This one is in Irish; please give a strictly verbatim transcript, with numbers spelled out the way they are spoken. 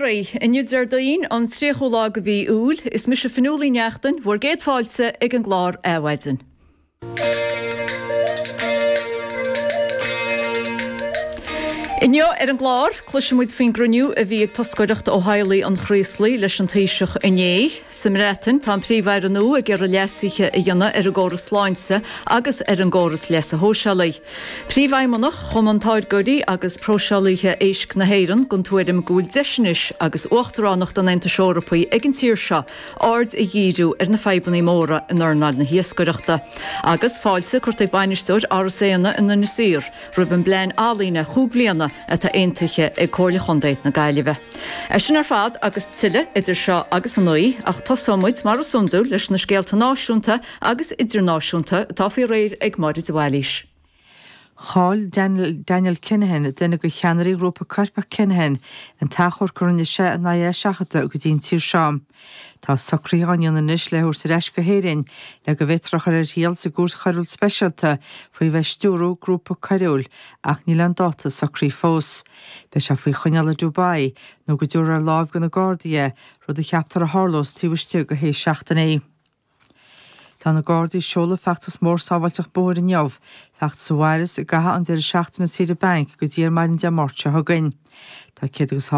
oraibh. Inniu Déardaoin an tríochú lá de mhí Iúil, is mise Fionnuala Ní Neachtain, bhur gcéad fáilte ag an gclár Adhmhaidin. Inniu ar an gclár, cloisfidh muid faoin gcruinniú a bhí ag toscaireacht ó theaghlaigh an Chraoslaigh leis an Taoiseach inné. Sa mBreatain, tá an Príomh-Aire nua ag iarraidh leasuithe a dhéanamh ar an gcóras sláinte agus ar an gcóras leasa shóisialaigh. Príomhfheidhmeannach Chumann Táirgeoirí agus Próiseálaithe Éisc na hÉireann den tuairim go bhfuil deis anois agus Uachtaránacht an Aontais Eorpaigh ag an tír seo aird a dhíriú ar na fadhbanna móra in earnáil na hiascaireachta. Agus fáilte curtha ag bainisteoir Áras Éanna in Inis Oírr roimh an bplean ealaíne chúig bhliana atá aontaithe ag Comhairle Chontae na Gaillimhe. É sin ar fad agus tuilleadh idir seo agus a naoi, ach tosóidh muid mar is iondúil leis na scéalta náisiúnta agus idirnáisiúnta atá faoi réir ag Máire de Bhailís. Chaill Daniel, Daniel Kinahan, duine de cheannairí ghrúpa coirpeach Kinahan, an t-achomharc a rinne sé in aghaidh é a sheachadadh go dtí an tír seo. Tá socruithe á ndéanamh anois le thabhairt ar ais go hÉirinn le go bhféadfar a chur ar thriail sa gcúirt choiriúil speisialta faoi bheith ag stiúradh grúpa coiriúil ach níl aon dáta socraithe fós. Beidh sé faoi choinneáil i Dubai nó go dtabharfar ar láimh do na Gardaí é, rud a cheaptar a tharlós taobh istigh de shé seachtainí. Tá na Gardaí ag seoladh feachtas mór sábháilteacht bóthair inniu, feachtas a mhairfeas i gcaitheamh an deireadh seachtaine saoire bainc go dtí ar maidin Dé Máirt seo chugainn. Tá céad agus